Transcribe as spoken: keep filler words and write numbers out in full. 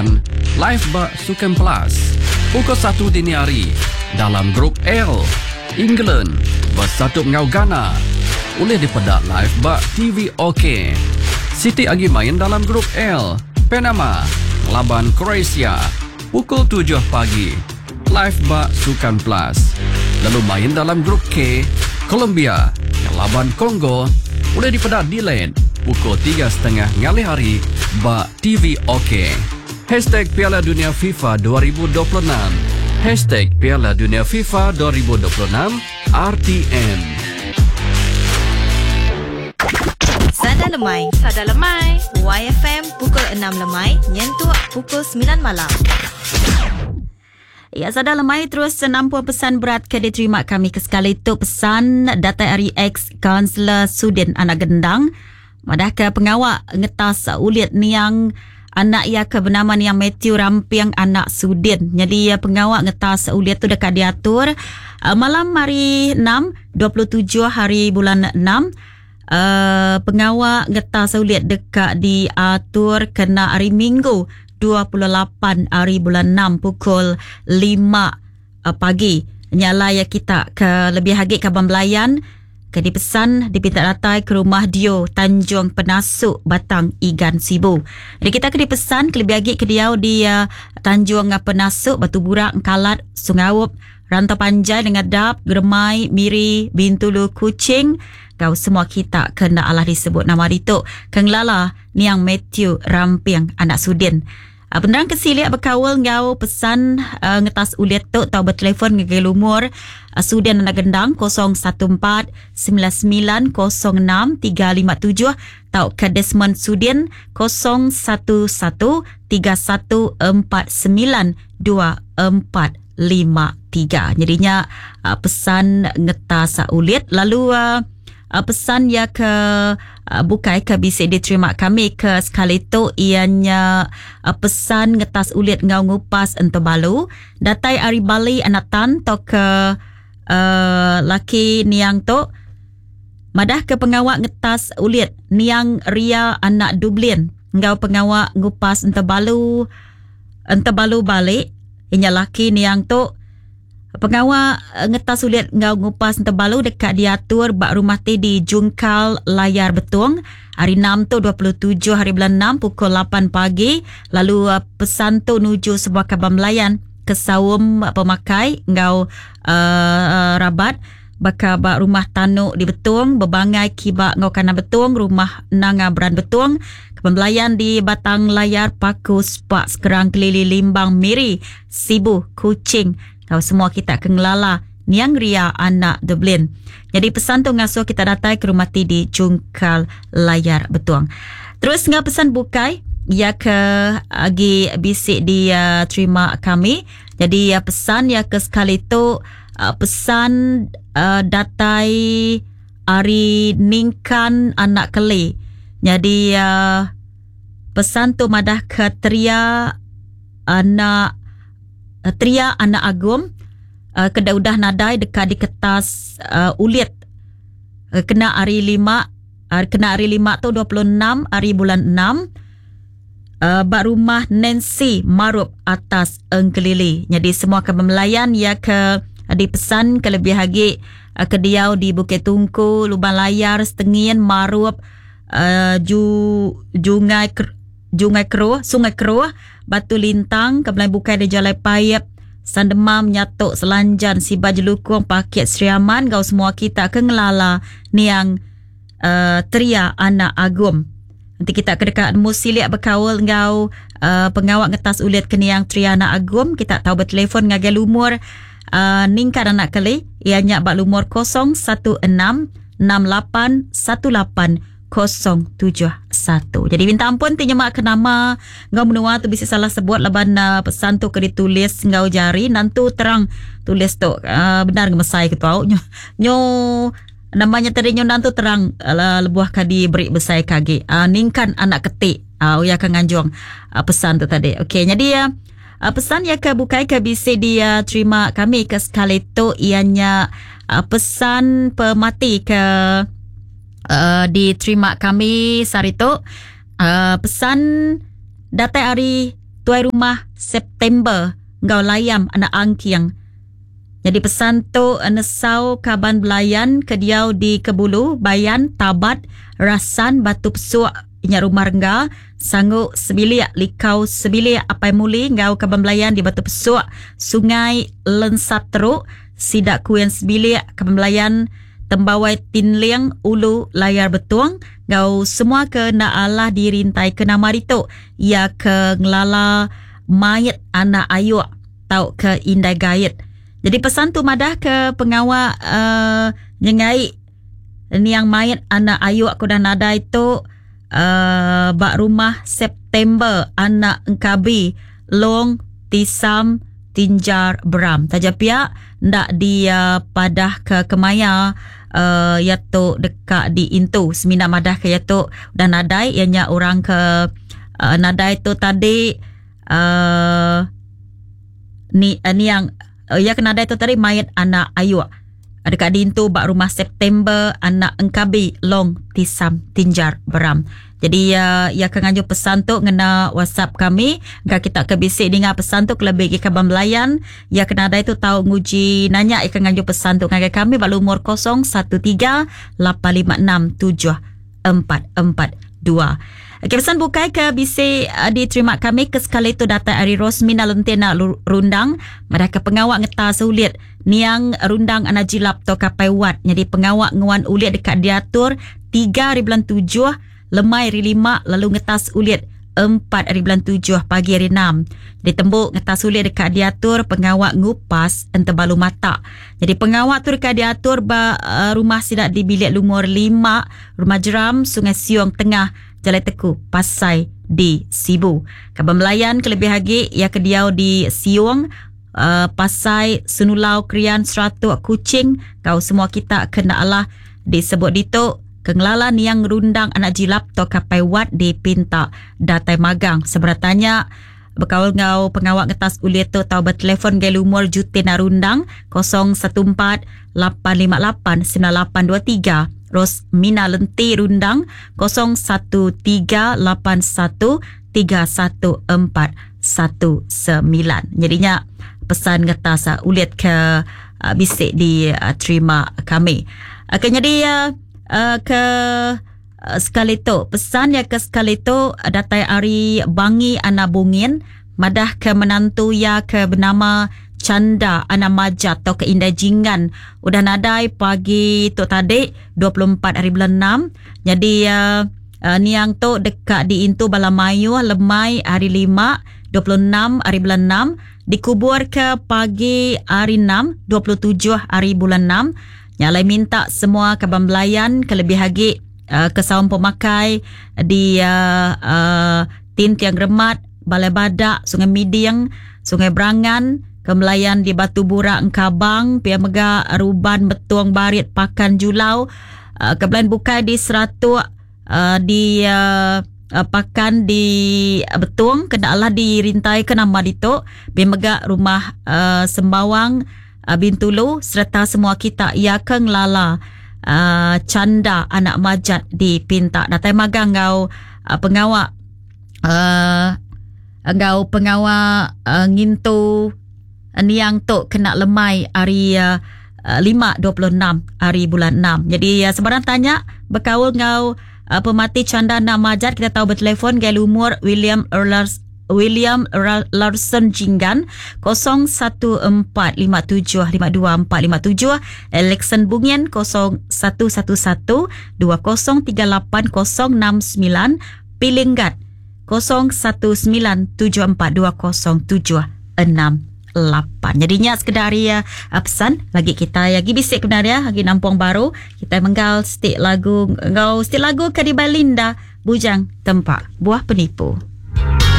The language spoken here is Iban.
lapan live ba Sukan Plus. Pukul satu dini hari dalam Grup L, England bersatu enggau Ghana. Ulih dipeda live ba T V OK. Siti agi main dalam Grup L, Panama laban Croatia pukul tujuh pagi live ba Sukan Plus. Lalu main dalam Grup K, Colombia laban Congo boleh dipeda delayed pukul tiga setengah ngalih hari ba T V OK. Hashtag Piala Dunia FIFA dua ribu dua puluh enam. Hashtag Piala Dunia FIFA dua ribu dua puluh enam R T M. Sada Lemai. Sada Lemai. Y F M pukul enam lemai nyentuk pukul sembilan malam. Ya, Sada Lemai terus nampung pesan berat ke diterima kami ke sekali tu pesan datai ari ex-kaunselor Sudin Anak Gendang. Madah ke pengawak ngetas ulit niang anak ia ke bernama niang Matthew Ramping anak Sudin. Jadi pengawak ngetas ulit tu dekat diatur malam hari enam, dua puluh tujuh hari bulan enam. Uh, pengawak ngetas ulit dekat diatur kena hari Minggu dua puluh lapan hari bulan enam pukul lima uh, pagi. Nyala ya kita ke lebih hagi Kabang Belayan ke dipesan dipinta datai ke rumah Dio Tanjung Penasuk Batang Igan Sibu. Jadi kita ke dipesan ke lebih hagi ke diau di uh, Tanjung Penasuk Batu Burak Kalat Sungaup Rantau Panjai dengan Dap Germai Miri Bintulu Kuching. Kau semua kita kena Allah disebut nama itu Kenglala Niang Matthew Ramping anak Sudin. Uh, penerang kesiliak berkawal ngau pesan uh, ngetas ulit tu tau bertelefon ngagai lumur uh, Sudin anak Gendang kosong satu empat sembilan sembilan kosong enam tiga lima tujuh tau ke Desmond Sudin kosong satu satu tiga satu empat sembilan dua empat lima tiga. Jadinya uh, pesan ngetas ulit lalu uh, Uh, pesan ya ke uh, bukai ke bisa diterima kami ke sekali tu ianya uh, pesan ngetas ulit ngau ngupas ento balu datai ari Bali anak tan to ke uh, laki niang tu madah ke pengawak ngetas ulit niang Ria anak Dublin ngau pengawak ngupas ento balu ento balu balik ianya laki niang tu. Pengawak ngetas ulit ngau ngupas entebalu dekat diatur bak rumah T di Jungkal Layar Betung hari enam tu dua puluh tujuh hari bulan enam pukul lapan pagi. Lalu pesan tu nuju sebuah kabam melayan ke saum pemakai ngau uh, rabat baka bak rumah Tanuk di Betung bebangai kibak ngau kanan Betung rumah Nanga Beran Betung pembelayan di Batang Layar Paku Spak Sekerang Kelili Limbang Miri Sibu Kuching. Kau semua kita kengelala Niang Ria anak Dublin. Jadi pesan tu ngasuh kita datai ke rumah T di Jungkal Layar Betuang. Terus ngah pesan bukai ya ke agi bisik di uh, terima kami. Jadi uh, pesan ya ke sekali tu uh, pesan uh, datai ari Ningkan anak Keli. Jadi uh, pesan tu madah ke Tria anak Tria anak Agum uh, kena udah nadai dekat di kertas uh, ulit uh, kena hari lima uh, kena hari lima tu dua puluh enam hari bulan enam uh, bak rumah Nancy Marup atas Engkelili. Jadi semua ke melayan ya ke uh, dipesan ke lebih lagi uh, ke diau di Bukit Tungku, Lubang Layar, Setengin, Marup, uh, Ju Jungai Jungai Keruh, Sungai Keruh, Batu Lintang, Kebelai Bukai di Jalai Payep, Sandemam, Nyatuk, Selanjan, Siba Jelukung, Paket Seriaman, kau semua kita ke ngelala niang uh, Tria anak Agum. Nanti kita ke dekat Musiliak berkawal ngau uh, pengawak ngetas ulit ke niang Tria anak Agum, kita tahu bertelefon ngagai lumur uh, Ningkan anak Keli, ianya bak lumur kosong satu enam enam lapan satu lapan kosong tujuh satu. Jadi minta ampun ti nyemak ke nama ngau menua tu bisa salah sebut laban uh, pesan tu ke ditulis ngau jari nantu terang tulis tu uh, benar ngemesai ke tau nyo, nyo namanya tadi nyo nantu terang uh, lebuah kadi beri besai kagi uh, ningkan anak ketik uh, uya ke nganjung uh, pesan tu tadi. Okey, jadi uh, uh, pesan ya ke bukai ke bisa dia terima kami ke sekali tu ianya uh, pesan pemati ke Uh, diterima kami sehari tu uh, pesan datai hari Tuai Rumah September enggau Layam anak Angking. Jadi pesan tu nesau kaban belayan ke diau di Kebulu, Bayan, Tabat, Rasan, Batu Pesuk, Inya Rumah Rengga, Sanggu Sebilik, Likau Sebilik, Apai Muli enggau kaban belayan di Batu Pesuk, Sungai Lensat Teruk, Sidak Kuin Sebilik, kaban belayan Tembawai Tinling, Ulu Layar Betung, enggau semua ke nak Allah dirintai ke nama ditu, ia ke ngelala mayat anak ayuk tau ke indai gait. Jadi pesan tu madah ke pengawa uh, nyengai niang mayat anak ayuk ku dah nadai tu uh, bak rumah September anak Engkabi Long Tisam Tinjar Beram. Taja pihak ndak dia padah ke kemaya uh, ia tu dekat di intu semina madah ke ia tu dah nadai ianya orang ke uh, nadai tu tadi uh, ni uh, niang uh, ia kena nadai tu tadi mayat anak ayuk dekat dintu bak rumah September anak Engkabi Long Tisam Tinjar Beram. Jadi uh, ia akan nganjuk pesan tu ngena WhatsApp kami. Engka kita ke bisik dengar pesan tu kelebih ke kaban belayan. Ia kena ada itu tahu nguji nanya ia akan nganjuk pesan tu ngagai kami balu umur kosong satu tiga lapan lima enam tujuh empat empat dua. Okey, pesan bukai ke bisik uh, diterima kami ke sekali tu datang ari Rosmina Lentena Rundang madah ke pengawak ngeta sulit niang Rundang anak jilap to kapai wat. Jadi pengawak nguan ulit dekat diatur tiga hari bulan tujuh lemai hari lima lalu ngetas ulit empat hari bulan tujuh pagi hari enam. Ditembuk ngetas ulit dekat diatur pengawak ngupas entebalu mata. Jadi pengawak tu dekat diatur ba uh, rumah sidak di bilik lumur lima Rumah Jeram Sungai Siong Tengah Jalan Teku Pasai di Sibu. Kaban melayan kelebih lagi ia kediau di Siong uh, Pasai Senulau Krian Seratuk Kucing kau semua kita kena Allah disebut ditu kengelala niang Rundang anak jilap to kapai wat di pinta datai magang. Seberatanya berkaul ngau pengawak ngetas ulit tu tau bertelefon gay lumur Jutin Rundang kosong satu empat lapan lima lapan sembilan lapan dua tiga. Rosmina Lenti Rundang kosong satu tiga lapan satu tiga satu empat satu sembilan. Jadinya pesan ngetas uh, ulit ke uh, bisik diterima uh, kami. Okey, jadi uh, uh, ke uh, sekali tu pesan ya ke sekali tu uh, datai ari Bangi Anak Bungin madah ke menantu ya ke bernama Canda Anak Majat atau ke Indai Jinggan udah nadai pagi tu tadi dua puluh empat hari bulan enam. Jadi uh, uh, niang tu dekat di intu Balamayu lemai hari lima dua puluh enam hari bulan enam dikubur ke pagi hari enam dua puluh tujuh hari bulan enam. Nyalai minta semua kaban belayan kelebih lagi uh, ke saum pemakai di uh, uh, Tintiang Remat, Balai Badak, Sungai Miding, Sungai Berangan, kemelayan di Batu Burak Engkabang, Pia Mega, Ruban, Betuang Barit, Pakan Julau, uh, kebelayan bukai di Seratuk, uh, di uh, uh, Pakan di Betuang, kena Allah dirintai ke nama ditu, Pia Mega Rumah uh, Sembawang, uh, Bintulu, serta semua kita ia ke ngelala uh, Canda Anak Majat di Pinta. Datai magang ngau uh, pengawak uh, ngau pengawak uh, ngintu niang tu kena lemai hari uh, lima dua puluh enam hari bulan enam. Jadi uh, sebarang tanya berkaul ngau uh, pemati Canda Anak Majat kita tahu bertelefon gaya lumur William Erlars William Larson Jinggan kosong satu empat lima tujuh lima dua empat lima tujuh, Alexon Bungin kosong satu satu satu dua kosong tiga lapan kosong enam sembilan, Pilinggat kosong satu sembilan tujuh empat dua kosong tujuh enam lapan. Jadinya sekedar ya pesan bagi kita lagi bisik benar ya lagi nampung baru kita menggal stik lagu ngau stik lagu Kadiba Linda Bujang Tempak Buah Penipu.